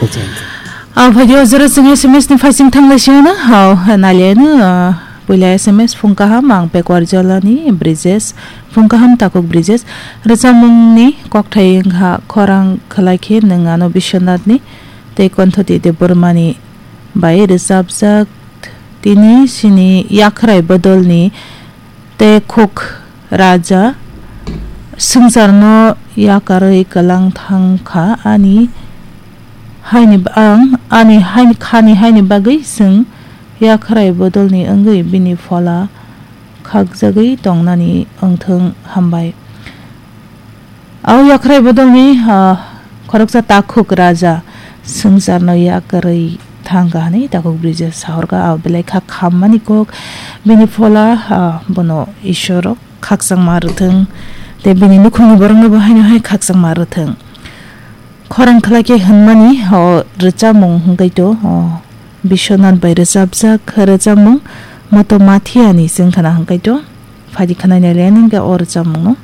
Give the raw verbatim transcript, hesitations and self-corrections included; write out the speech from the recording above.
Aw phaidi o jora chwng S M S ni phaising thanglai siyano hao naliano puila S M S phung kaham ang Pekwar Jolani Brijesh phung kaham takuk Brijesh rwchapmungni kokthai wngkha khorang khwlai khe nwng ano Biswanathni tei Konthoti Debbarmani bai rwchapjak tini chini Yakhrai Bodolni Tei khuk raja swngcharno yakarwi kwlang thang kha ani haini ba-, ang ani haini khani haini bagwi chwng yakhrai bodolni wngwi bini phola khakjagwi tongnani wngthwng hambai. Au yakhrai bodolni, ah, khoroksa takhuk raja swngcharno yakarwi thangkha hwnwi takhuk Brija sahorkha. Au belai kha khammani kok bini phola, ah, bono Ishwaro khakchangma rwthwng tei bini nukhungni borokno bo haino hai khakchangma rwthwng. Khorang khwlai khe hwnmani o rwchapmung hwnkhe to, o Biswanath bai rwchapjak rwchapmung Moto Mathiani chwng khna hwnkhe to. Phaidi khwnai nai le nang khe o rwchapmungno.